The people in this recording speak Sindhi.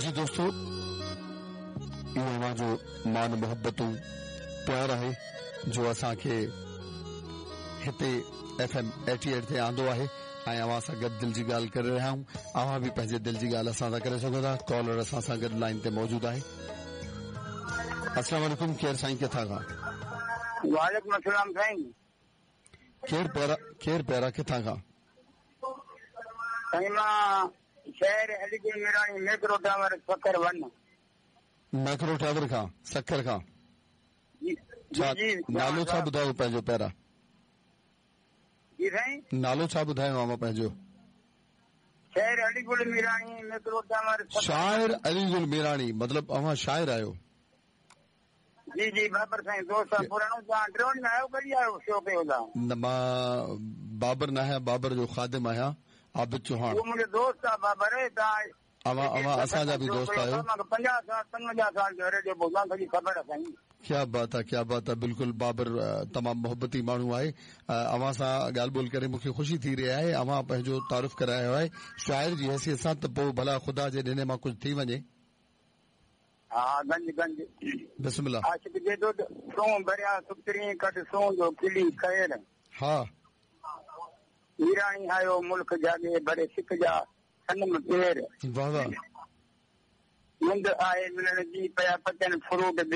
جي دوستو اهو اوهان جو مان محبتون پيار آهي جو اسان کي هتي ايف ايم ايٽي ايٽ تي آندو آهي ۽ اوهان سان گڏ دل جي ڳالهه ڪري رهيا آهيون. اوهان به پنهنجي دل جي ڳالهه اسان سان ڪري سگهو ٿا. ڪالر اسان سان گڏ لائين تي موجود آهي. السلام عليڪم ڪير سائين ڪٿان کان؟ وعليڪم السلام سائين. ڪير پيارا ڪير پيارا ڪٿان کان؟ سائين مان شهر Ali Gul Mirani Macro tower Sukkur one. Macro tower کان سکر کان. جي ڇا جي نالو ڇا ٻڌايو پنهنجو پيارا؟ جي سائين. نالو ڇا ٻڌايو اوهان پنهنجو؟ شاعر علي گل ميراڻي ميڪرو ٽاور سکر. شاعر علي گل ميراڻي مطلب اوهان شاعر آهيو. جي جي بابر سائين دوست آ پراڻو توهان ٽيون ڏينهن آيو ڪڏهن آيو شو ڪيو توهان. نه مان بابر نه آهيان بابر جو خادم آهيان عابد چوهاڻ. اهو منهنجو دوست آ بابر توهان اوهان اوهان اسان جا به دوست آهيو. 50 سال 55 سال جو ريڊيو ٻڌان سڄي خبر سائين. ڪيا بات آ ڪيا بات آ بلڪل بابر تمام محبتي ماڻهو آهي اوهان سان ڳالهه ٻولهه ڪري مونکي خوشي ٿي رهي آهي اوهان پنهنجو تعارف ڪرايو آهي شاعر جي حيثيت سان ته پوء ڀلا خدا جي ڏني مان ڪجهه ٿي وڃي. ها گنج گنج. بسم الله. عاشق جيڏو سون ڀريا سپرين ڪڍ سون جو کلي خير. ها. ميراڻي آيو ملڪ جاڳي ڀري سڪ جا صنم پير. واه واه. مند آهي ملڻ جي پيا پچن فروٽ ٻير.